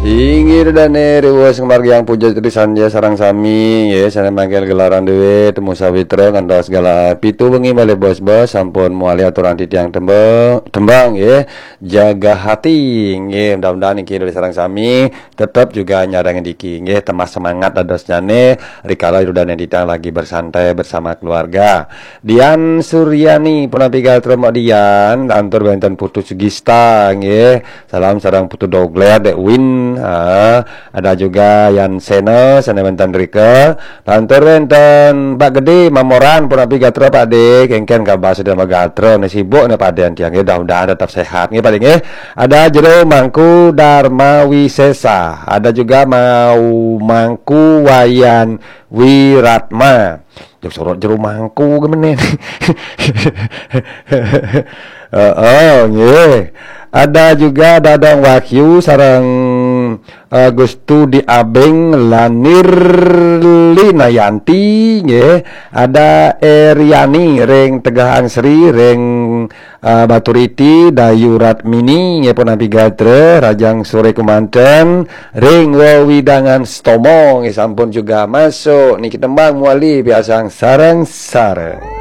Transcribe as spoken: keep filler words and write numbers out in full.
Inggih dane riwuh sing margiang puja titisan ya sareng sami nggih, sane mangkin gelaran dhewe temu sawitra ngantos galah pitu wengi malih bos-bos sampun muali aturan titiang tembang, tembang nggih. Jaga hati nggih, mudah-mudahan niki dari sareng sami tetep juga nyarengin diki nggih, tambah semangat dadosnyane rikala Rudane Titiang lagi bersantai bersama keluarga. Dian Suryani punapi gatra Mbok Dian, lantur wenten Putu Sugista nggih. Salam sareng Putu Dogler, Dek Win. Ha, ada juga Yan Sena, sane wenten rika. Lantur wenten Pak Gede Mamoran punapi gatra Pak De, kengken kabar sedaya gatra ne sibuk ne Pak De tiang nggih, mudah-mudahan tetap sehat nggih Pak De nggih. Ada Jero Mangku Dharma Wisesa, ada juga mau Mangku Wayan Wiratma. Jero sorot Jero Mangku ke menen. Heeh, nggih. Ada juga Dadang Wahyu sareng eh, Gustu di Abeng Lanir Linayanti nggih. Ada Eriani ring Tegah Angsri ring eh, Baturiti Dayu Ratmini nggih punapi gatra Rajang Sore Kumanten ring wewidangan Stomo nggih sampun juga masuk niki tembang muali piasang sareng-sareng.